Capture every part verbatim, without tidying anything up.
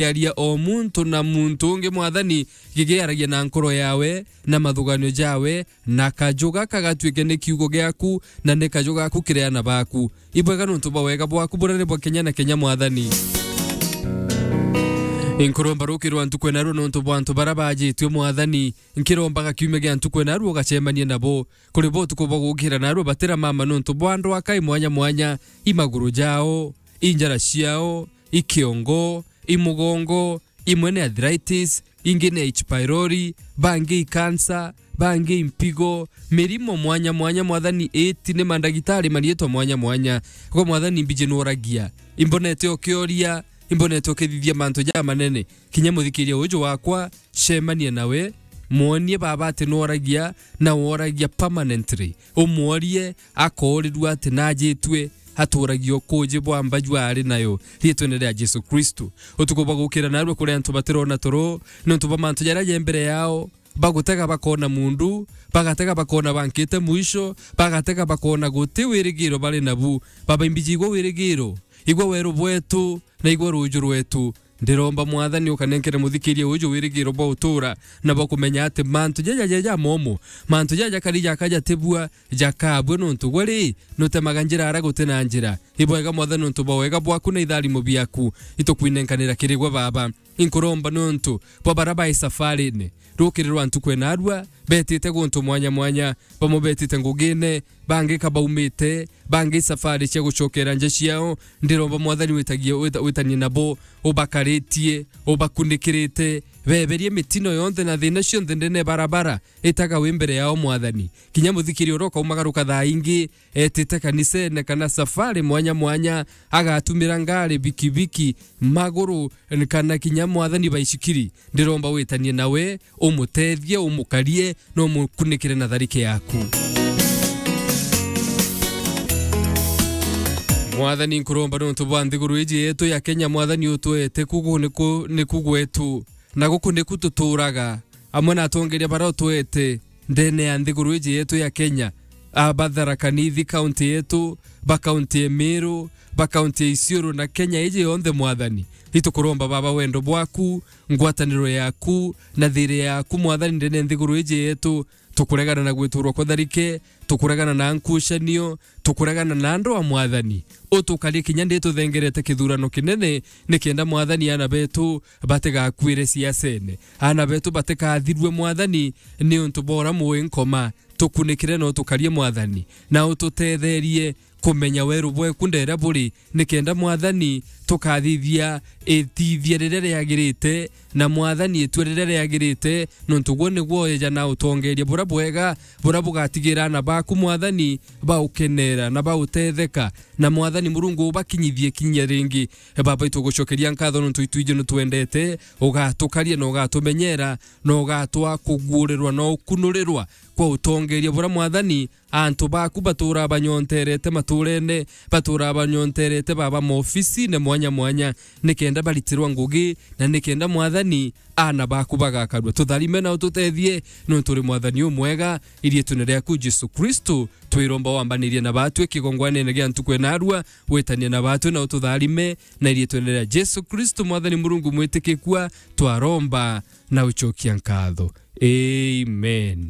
kiaria o muntu na muntu ungi, Mwathani, gigiaragia na nkoro yawe na mathuganio jawe, na kaju gaka gatuike ni kiugo giaku, na ni kaju gaku kiri aana baku. Ibwega nontu bwa wega bwaku buria ni bwa kenya na kenya, Mwathani. Nkuromba rukirwa ntuku ena rua nontu bwa antu baria bajitue, Mwathani. Nkirombaga kiumia gia ntuku ena rua ugacemanie nabo. Kuri bo utuku bwa gukira narua batira mama nontu bwa ndwaka i mwanya mwanya, i maguru jao, i njara ciao, i kiongo, i mugongo, imwe ni arthritis, ingi ni H. pylori, bangi i cancer, bangi i mpigo, mirimo mwanya mwanya, Mwathani, iti ni mandagitari mariitwa mwanya mwanya. Gwe Mwathani, mbiji nworagia. Imbonete ukioria, imbonete ukithithia mantu jamanene. Kinya muthikiria uju wakwa, cemania nawe, mwonie baba ati nworagia, na woragia permanently. Umworie, akoorirua ati najitue, aturagia ukuuji bwa mba jwa ari nayo, riitwene ria Jesu Kristu. Utuku bwa gukira narua kuri antu batirona toro, nontu bwa mantu jaria je mbere yao, bagutega bakona mundu, bagatega bakona bankite mwisho, bagatega bakona guti wirigiro bari nabu. Baba, imbiji igwe wirigiro, igwe weru bwetu, na igwe ruuju rwetu. Ndiromba, Mwathani, ukanenkere muthikiria uju wirigiro bwa utura, na bwa kumenya ati mantu jaja jaja momo, mantu jaja jakari jaka jatibua, jakabua nontu gwe ri, nutemaga njira aria guti na njira. Ibwega, Mwathani, nontu bwa wega bwaku na itharimo biaku, itukwinenkanira kiri gwe, Baba. Inkuromba nontu bwa baria bai safarine, rukiri rwa ntuku ena rua, betite guntu mwanya mwanya, bamwe betite ngugine, bangi ka baumite, bangi safari cia gucokera nja ciao. Ndiromba, Mwathani, witagie, wita-, witanie nabo, ubakaritie, ubakunikirite, beberie mitino yonthe na thina cionthe ndene barabara, itaga wi mbere yao, Mwathani. Kinya muthikiria uria ukaumagaruka thaa ingi, etite kanisene kana safari mwanya mwanya, agatumira ngari, bikibiki, maguru, kana kinya, Mwathani, baicikiri. Ndiromba witanie nawe, umutethie, umukarie, na umukunikire na tharike yaku. Mwathani, nkuromba nontu bwa nthiguru iji yetu ya Kenya, Mwathani, utwete kugu niku, niku gwetu, na guku niku tuturaga, amwe na atongeria baria utwete ndene ya nthiguru iji yetu ya Kenya, a ba Tharaka Nithi, kaunti yetu, ba kaunti ya Meru, ba kaunti ya Isiolo, na Kenya iji yonthe, Mwathani. Itukuromba, Baba, wendo bwaku, ngwataniro yaku, na thiiri yaku, Mwathani, ndene ya nthiguru iji yetu. Tukuregana na gwiturwa kwa tharike, tukuregana na nkucanio, tukuregana na andu a, Mwathani. Utukarie kinya ndi tuthengerete kithurano kinene, nikenda, Mwathani, aana betu batigakuire siasene. Aana betu batikathirue, Mwathani, niuntu bwa uria mui nkoma. Tukunikire na utukarie, Mwathani, na ututetherie kumenya weru bweku nderia buri, nikenda, Mwathani, tukathithia ithithia riria riagirite, na, Mwathani, itua riria riagirite, nontu gwe nigwe ueja na utongeria buria bwega, buria bugatigira aana baku, Mwathani, baukenera na bautetheka. Na, Mwathani Murungu, ubakinyithie kinya ringi. E Baba, itugucokeria nkatho nontu itwiji nitwendete, ugatukaria na ugatumenyera, na ugatwa kuguurirwa na ukunurirwa kwa utongeria buria, Mwathani, antu baku baturaa banyonterete maturene, baturaa banyonterete, Baba, maofisine mwanya mwanya, nikenda baritirwa ngugi, na nikenda, Mwathani, aana baku bagakarua. Tutharime na ututethie, nontu uri Mwathani umwega. Iriitune riaku, Jesu Kristu, twiromba wambanirie na batwi kigongwanene gia ntuku ena rua, witanie na batwi na ututharime, na iriitune ria Jesu Kristu, Mwathani Murungu mwitikikua, twaromba na ucokia nkatho. Amen.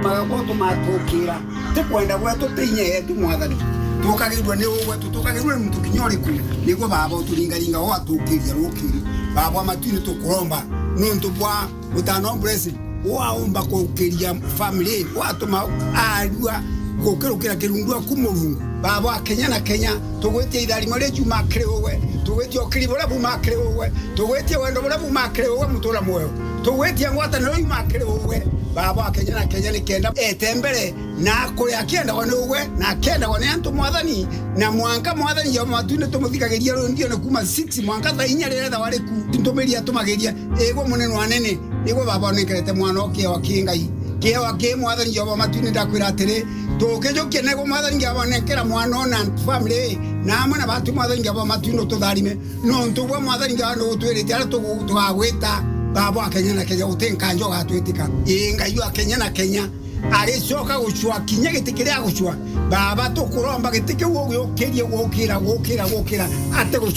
Magagwo tumatukiira, ti kwenda gwetu, ti inya yetu, Mwathani. Tukagirua ni uu gwetu, tukagirua ni muntu kinya uriku, niguo Baba uturingaringa, ugatukiria rukiri. Baba wa matuini, tukuromba nuntu bwa mutano blessing. Waumba kukiria family, watuma arua gukirukira kirundu aku Murungu. Baba wa Kenya na Kenya, tugwitia itharimo ria juma kiri uwe, tugwitia ukiri buria buma kiri uwe, tugwitia wendo buria buma kiri uwe, mutura mwoyo. Tugwitia ngwataniro yuma kiri uwe, Baba wa Kenya na Kenya, nikenda ete mbere na akure akiendagwa ni uwe, na akiendagwa ni antu, Mwathani, na mwanka, Mwathani Jehova, matuini tumuthikagiria rwimbione kuma six mwanka thaa inya riria ethagwa riku, ntumiri atumagiria, igwe munene wa anene, nigwe Baba unenkerete mwana o kiewa ki Ngai. Kiewa ki, Mwathani Jehova, matuini ndakwira atiri, tukijukia nego, Mwathani Jehova, nenkera mwana o na family, na amwe na batu, Mwathani Jehova, matuini ututharime, nontu gwe, Mwathani Jehova, nugutwirite aria tugu-, tugagwita, Baba wa Kenya na Kenya, uti nkanja ugatwitika. Ii, Ngai wa Kenya na Kenya, Agicoka gucua kinya giti kiria agucua. Baba, tukuromba giti kiu ugiukirie gukira, gukira, gukira. Ati gucua